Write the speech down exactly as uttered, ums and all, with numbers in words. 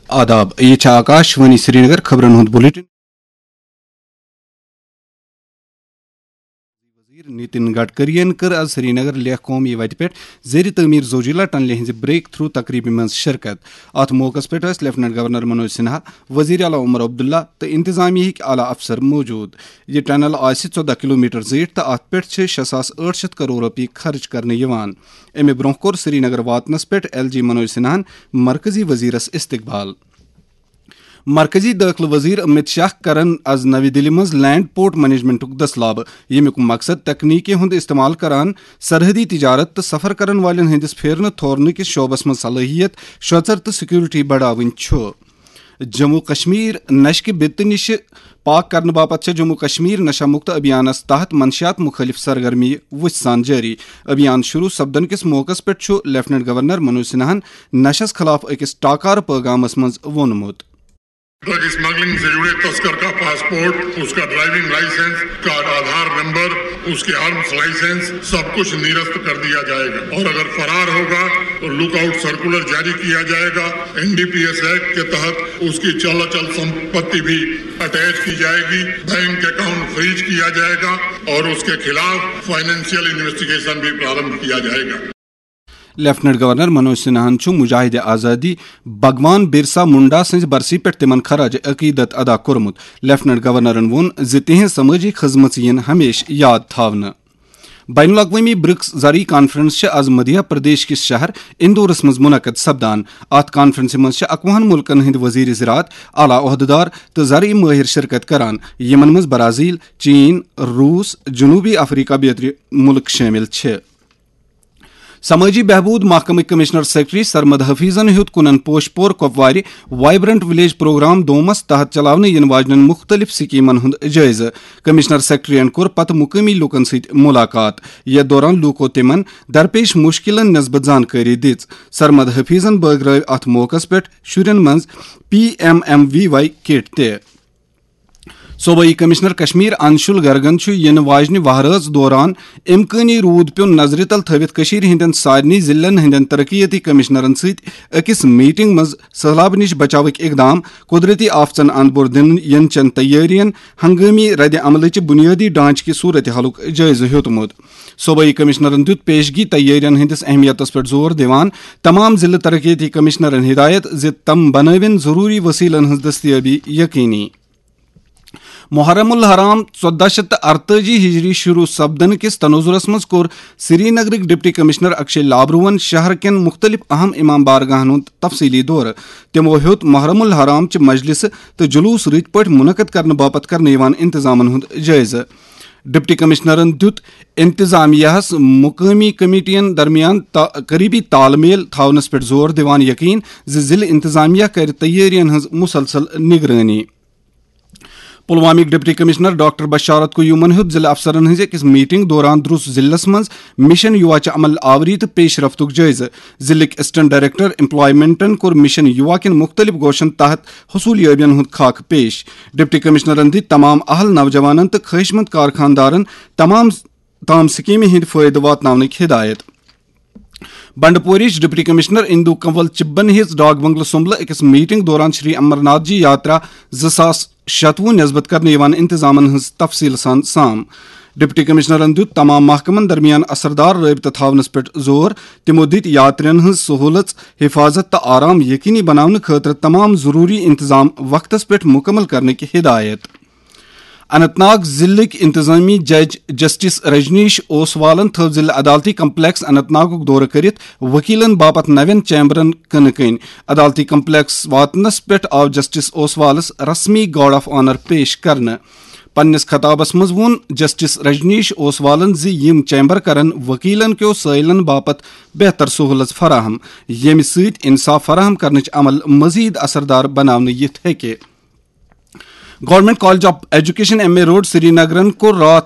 آداب، یہِ چھِ آکاش وانی سرینگر خبرن ہُنٛد بلیٹن۔ وزیر نتن گڈکرین کٔر از سرینگر لیہہ قومی وتہِ پٮ۪ٹھ زیر تعمیر زوجیلا ٹنلہِ ہٕنٛزِ بریک تھرو تقریبہِ منٛز شرکت۔ اتھ موقعس پٮ۪ٹھ ٲسۍ لیفٹیننٹ گورنر منوج سنہا، وزیر اعلیٰ عمر عبداللہ تہٕ انتظامیہ ہٕکۍ اعلیٰ افسر موجود۔ یہِ ٹنل آسہِ ژۄدہ کلومیٹر زیٖٹھ تہٕ اتھ پٮ۪ٹھ چھِ شےٚ ساس ٲٹھ شیٚتھ کرور رۄپیہِ خرٕچ کرنہٕ یِوان۔ امہِ برونٛہہ کوٚر سرینگر واتنس پٮ۪ٹھ ایل جی منوج سنہاہن مرکزی وزیرس استقبال۔ مرکزی دٲخلہٕ وزیر امت شاہ کرن از نوِ دِلہِ منٛز لینڈ پورٹ مینجمنٹُک دٔسلابہٕ، ییٚمیُک مقصد تکنیٖکی ہُنٛد استعمال کران سرحدی تجارت تہٕ سفر کرن والٮ۪ن ہٕنٛدِس پھیرنہٕ تھورنہٕ کِس شعبس منٛز صلٲحیت، شوژر تہٕ سیکورٹی بڑاوٕنۍ چھُ۔ جموں کشمیر نشہٕ کہِ بِتہٕ نِشہٕ پاک کرنہٕ باپتھ چھےٚ جموں کشمیر نشہ مکت ابھیانس تحت منشیات مخٲلف سرگرمی وُژھِ سان جٲری۔ ابھیان شروع سپدن کِس موقعس پٮ۪ٹھ چھُ لیفٹیننٹ گورنر منوج سنہاہن نشس خلاف أکِس ٹاکارٕ پٲغامس منٛز ووٚنمُت۔ ڈرگ اسمگلنگ سے جڑے تسکر کا پاسپورٹ، اس کا ڈرائیونگ لائسنس، اس کا آدھار نمبر، اس کے آرمز لائسنس، سب کچھ نرست کر دیا جائے گا اور اگر فرار ہوگا تو لک آؤٹ سرکولر جاری کیا جائے گا۔ N D P S act کے تحت اس کی چل اچل سمپتی بھی اٹیچ کی جائے گی، بینک اکاؤنٹ فریز کیا جائے گا اور اس کے خلاف فائنینشیل انویسٹیگیشن بھی پرارمبھ کیا جائے گا۔ لیفٹیننٹ گورنر منوج سنہاہن چھُ مجاہد آزادی بھگوان برسا منڈا سٕنٛزِ برسی پٮ۪ٹھ تِمن خراج عقیدت ادا کوٚرمُت۔ لیفٹیننٹ گورنرن ووٚن زِ تِہنٛز سمٲجی خدمژ یِن ہمیشہٕ یاد تھاونہٕ۔ بین الاقوٲمی برکس زرعی کانفرنس چھِ از مدھیہ پردیش کِس شہر اندورس منٛز منعقد سپدان۔ اتھ کانفرنسہِ منٛز چھِ اکوُہن ملکن ہٕنٛدۍ وزیر زراعت، اعلیٰ عہدٕدار تہٕ زرعی مٲہر شرکت کران، یِمن منٛز برازیل، چین، روس، جنوبی افریقہ بیترِ ملک شٲمِل چھِ۔ سمٲجی بہبود محکمٕکۍ کمشنر سیکرٹری سرمد حفیظن ہیوٚت کُنن پوش پور کۄپوارِ وائبرنٹ ولیج پروگرام دومس تحت چلاونہٕ یِنہٕ واجنٮ۪ن مُختٔلِف سکیمن ہُنٛد جٲیزٕ۔ کمشنر سیکرٹریَن کوٚر پتہٕ مُقٲمی لوٗکن سۭتۍ مُلاقات۔ یَتھ دوران لوٗکو تِمن درپیش مُشکِلن نسبت زانکٲری دِژ۔ سرمد حفیظن بٲگرٲوۍ اَتھ موقعس پٮ۪ٹھ شُرٮ۪ن منٛز پی ایم ایم وی واے کٹ تہِ۔ صوبائی کمشنر کشمیر انشول گرگن چھُ یِنہٕ واجنہِ وہرٲژ دوران امکٲنی روٗد پیوٚن نظرِ تل تھٲوِتھ کٔشیٖرِ ہٕنٛدٮ۪ن سارنٕے ضلعن ہٕنٛدٮ۪ن ترقیتی کمشنرن سۭتۍ أکِس میٹنگ منٛز سٔہلابہٕ نِش بچاوٕکۍ اقدام، قدرتی آفژن اند بور دِنہٕ ینہٕ چٮ۪ن تیٲرین، ہنگٲمی رد عملٕچہِ بُنیٲدی ڈھانچہٕ کہِ صورتحالُک جٲیزٕ ہیوٚتمُت۔ صوبٲئی کمشنرن دیُت پیشگی تیٲرین ہٕنٛدِس اہمیتس پٮ۪ٹھ زور دِوان تمام ضلعہٕ ترقیتی کمشنرن ہدایت زِ تِم بنٲوِن ضروٗری وسیلن ہٕنٛز دستیٲبی یقینی۔ محرم الحرام ژۄدہ شیٚتھ تہٕ ارتٲجی ہجری شروع سپدنہٕ کِس تناظرس منٛز کوٚر سری نگرٕکۍ ڈپٹی کمشنر اکشے لابروہن شہر کٮ۪ن مُختٔلِف اہم امام بارگاہن ہُنٛد تفصیلی دورٕ۔ تِمو ہیوٚت محرم الحرام چہِ مجلسہٕ تہٕ جلوس رٕتۍ پٲٹھۍ منعقد کرنہٕ باپتھ کرنہٕ یِوان انتظامن ہُنٛد جٲیزٕ۔ ڈپٹی کمشنرن دیُت انتظامیہ ہس مقٲمی کمیٹین درمیان تا-، قریبی تال میل تھاونس پٮ۪ٹھ زور دِوان یقین زِ ضلعہٕ انتظامیہ کرِ تیٲرین ہٕنٛز مسلسل نگرٲنی۔ پلوامٕکۍ ڈپٹی کمشنر ڈاکٹر بشارت قیومن ہیوٚت ضلع افسرن ہٕنٛزِ أکِس میٹنگ دوران درُس ضلعس منٛز مشن یووا چہِ عمل آوری تہٕ پیش رفتُک جٲیزٕ۔ ضلعٕکۍ اسسٹنٹ ڈائریکٹر ایمپلائمنٹن کوٚر مشن یووا کٮ۪ن مُختٔلِف گوشن تحت حصوٗلیٲبین ہُنٛد خاکہٕ پیش۔ ڈپٹی کمشنرن دِتۍ تمام اہل نوجوانن تہٕ خٲہِشمند کارخاندارن تمام تام سکیمہِ ہٕنٛدۍ فٲیدٕ واتناونٕکۍ ہدایت۔ بنڈپورِچ ڈپٹی کمشنر اندو کنول چبن ہیٚژ ڈاک بنگلہٕ سُمبلہٕ أکِس میٹنگ دوران شری امرناتھ جی یاترا زٕ ساس شتوُہ نسبت کرنہٕ یِوان انتظامن ہٕنٛز تفصیل سان سام۔ ڈپٹی کمشنرن دیُت تمام محکمن درمیان اثردار رٲبطہٕ تھاونس پٮ۪ٹھ زور۔ تِمو دِتۍ یاترین ہٕنٛز سہولژ، حفاظت تہٕ آرام یقینی بناونہٕ خٲطرٕ تمام ضروٗری انتظام وقتس پٮ۪ٹھ مُکمل کرنٕکۍ ہدایت۔ اننت ناگ ضلعٕکۍ انتظامی جج جسٹس رجنیش اوسوالن تھٲو ضلع عدالتی کمپلیکس اننت ناگُک دورٕ کٔرِتھ وکیلن باپتھ نوٮ۪ن چیمبرن کٕنہٕ کٕنۍ۔ عدالتی کمپلیکس واتنس پٮ۪ٹھ آو جسٹس اوسوالس رسمی گارڈ آف آنر پیش کرنہٕ۔ پننِس خطابس منٛز ووٚن جسٹس رجنیش اوسوالن زِ یِم چیمبر کرن وکیلن کیو سٲیلن باپتھ بہتر سہولژ فراہم، ییٚمہِ سۭتۍ انصاف فراہم کرنٕچ عمل مزید اثردار بناونہٕ یِتھ ہیٚکہِ۔ Government college of education, M A road, سری نگرن کوٚر راتھ